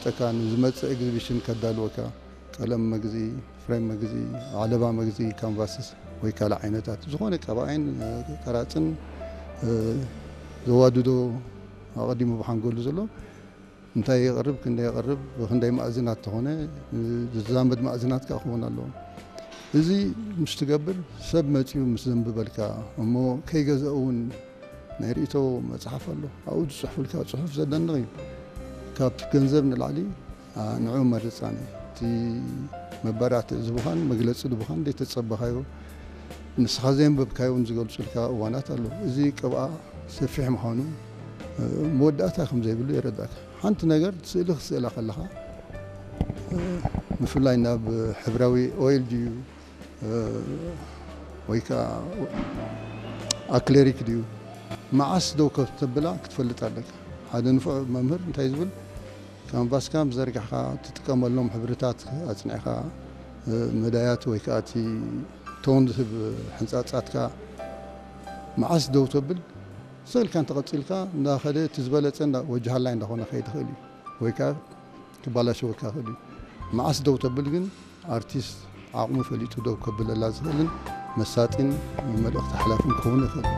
ጠካ ንዝመጽእ ኤግዚቢሽን ከዳልወካ፣ ቀለም መግዚ፣ ፍሬም መግዚ፣ ዓለባ መግዚ፣ ካንቫስስ ወይ ካልእ ዓይነታት ዝኾነ ቀባኣይን ቀራጽን ዘዋድዶ ኣቐዲሙ ብሓንጎሉ ዘሎ እንታይ የቕርብ፣ ክንደይ የቕርብ፣ ብክንደይ ማእዝናት ተኾነ ዝዛመድ ማእዝናት ከኣ ክኸውን ኣለዎ። እዚ ምስ ትገብር ሰብ መጺኡ ምስ ዘንብበልካ እሞ ከይገዘእ እውን ናይ ርእይቶ መጽሓፍ ኣሎ። ኣብኡ ዝጽሕፉልካ ጽሑፍ ዘደንቕ እዩ። ካብ ገንዘብ ንላዕሊ ንዑ መርጻኒ እቲ መባራትዕ ዝብኻን መግለጺ ዝብኻን ዘይተጸበኻዮ ንስኻ ዘየንበብካዮ እውን ዝገልጹልካ እዋናት ኣለዉ። እዚ ቅብኣ ሰፊሕ ምዃኑ መወዳእታ ከም ዘይብሉ የረዳእካ። ሓንቲ ነገር ስእሊ ክትስእላ ከለኻ ምፍላይ ናብ ሕብራዊ ኦይል ድዩ ወይ ከዓ ኣክሌሪክ ድዩ መዓስ ደው ከተብላ ክትፈልጥ ኣለካ። ሓደ ንፉዕ መምህር እንታይ ዝብል ካንቫስካ ምስ ዘርጋሕካ ትጥቀመሎም ሕብርታት ኣጽኒዕካ መዳያት ወይ ከዓ እቲ ቶን ዝህብ ሕንፃፃትካ መዓስ ደው ተብል ስእልካ እንተቐፂልካ እንዳኸደ እቲ ዝበለፀ ወጃሃላይ እንዳኾነ ከይድ ይኽእል እዩ ወይ ከዓ ክባላሸወካ ይኽእል እዩ። መዓስ ደው ተብል ግን ኣርቲስት ዓቕሙ ፈሊጡ ደው ከብለላ ዝኽእልን መሳጢን መልእኽቲ ሓላፍን ክኸውን ይኽእል።